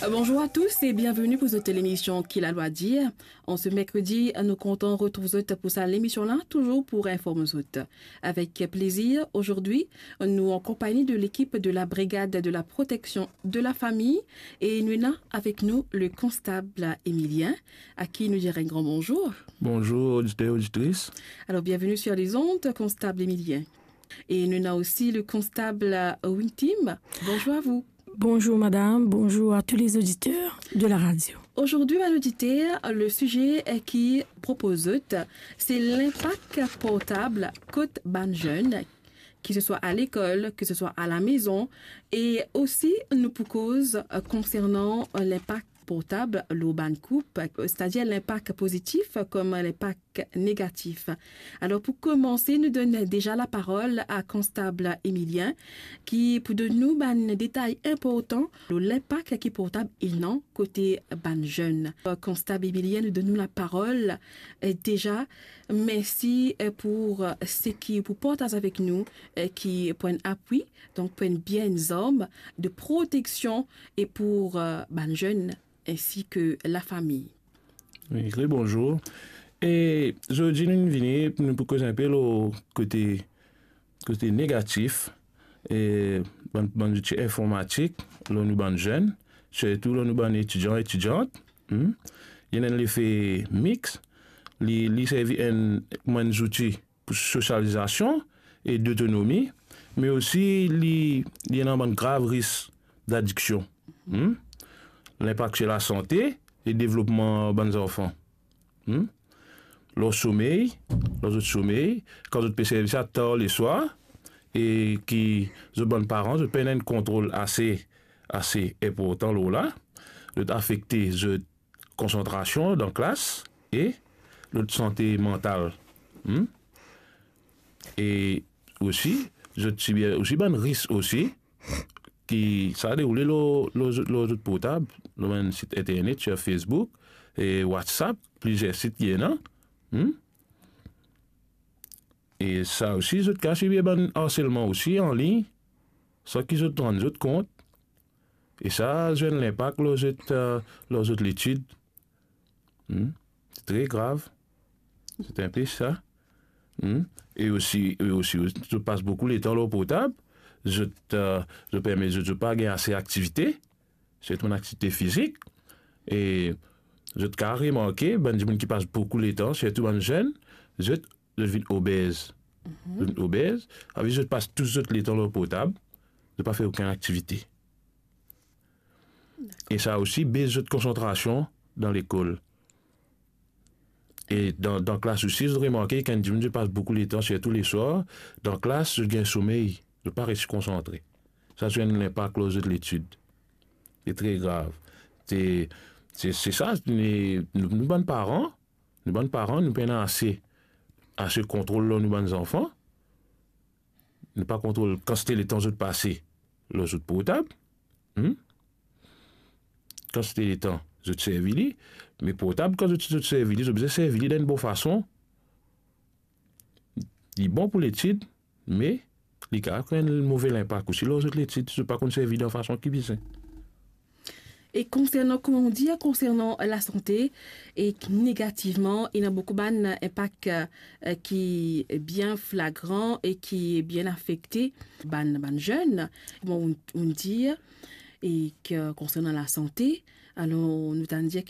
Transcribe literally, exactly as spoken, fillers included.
Bonjour à tous et bienvenue pour cette émission Ki Lalwa Dir. En ce mercredi, nous comptons retrouver zot pour sa émission-là, toujours pour informer zot. Avec plaisir, aujourd'hui, nous en compagnie de l'équipe de la Brigade de la Protection de la Famille et nous avons avec nous le constable Émilien, à qui nous dirons un grand bonjour. Bonjour, auditeurs, auditrices. Alors, bienvenue sur les ondes, constable Émilien. Et nous avons aussi le constable Wintim. Bonjour à vous. Bonjour madame, bonjour à tous les auditeurs de la radio. Aujourd'hui, bann oditer, le sujet ki propoze, c'est l'impact portable kot bann zenn, ki se swa a lekol, ki se swa a la mezon, e osi nou pou koz, euh, konsernan, euh, linpak portab lor bann koup, c'est-à-dire l'impact positif comme l'impact négatif. Alors, pour commencer, nous donnons déjà la parole à constable Émilien, ki pou donn nou bann detay inportan lor linpak ki portab ena kote bann zenn. Euh, constable Émilien, nous donnons la parole. Euh, déjà, merci, euh, pour, euh, seki ou pou partaz avek nou, euh, ki pou enn apui, donk pou enn bien enn zarm de proteksion e pou, euh, bann zenn ainsi que la famille. Oui, très bonjour. E zordi nou vini, nou pou koz inpe lor kote, kote negatif, e bann, bann zouti informatik, lor nou bann zenn, sirtou lor nou bann etidian, etidiant, hmm? Li ena enn lefe mix, li, li servi enn, kouma enn zouti pou sosializasion e dotonomi, me osi li, li ena bann grav ris d'adiksion. Hmm? Linpak sir lasante e devlopman bann zanfan. Hmm? Lor somey, lor zot somey, kan zot pe servi sa tar leswar, e ki zot bann paran, zot pena enn kontrol ase, ase inportan lor la, zot afekte zot konsantrasion dan klas e zot sante mantal. Hmm? E osi, zot sibir osi bann ris osi, ki sa deroule lor, lor zot, lor zot portab, lor bann sit internet, sir Facebook, e WhatsApp, plizier sit ki ena. Hmm? E sa osi, zot kapav sibir bann arselman osi anlign, san ki zot rann zot kont. E sa zwenn linpak lor zot, euh, lor zot letid. Hmm? Se tre grav. Se inpe sa. Hmm? E osi, e osi, zot pas boukou letan lor portab, zot, euh, zot permet zot, zot pa gagn ase aktivite, sirtou bann aktivite fizik. E zot kapav remarke, bann dimoun ki pas boukou letan, sirtou bann zenn, zot, zot vinn obez. Mhm. Zot vinn obez, avi zot pas tou zot letan lor portab, zot pa fer okenn aktivite. Dakor. E sa osi bes zot konsantrasion dan lekol. E dan, dan klas osi, zot remarke, kan dimoun zot pas boukou letan, sirtou leswar, dan klas, zot gagn somey, zot pa resi konsantre. Sa zwenn linpak lor zot letid. Se tre grav. Se, se, se sa, nou, nou bann paran, nou bann paran, nou pena ase, ase kontrol lor nou bann zanfan. Nou pa kontrol kantite letan zot pase lor zot portab. Hmm? Kantite letan zot servi li, me portab, kan zot, zot servi li, zot bizin servi li dan enn bon fason. Li bon pou letid, me li kapav kree enn move linpak osi lor zot letid, si zot pa konn servi li dan fason ki bizin. E konsernan, kouma ou dir, konsernan lasante, e negativman, ena boukou bann inpak, eh, ki bien flagran e ki bien afekte bann, bann zenn, kouma ou, ou dir, e ki konsernan lasante, alor nou tann dir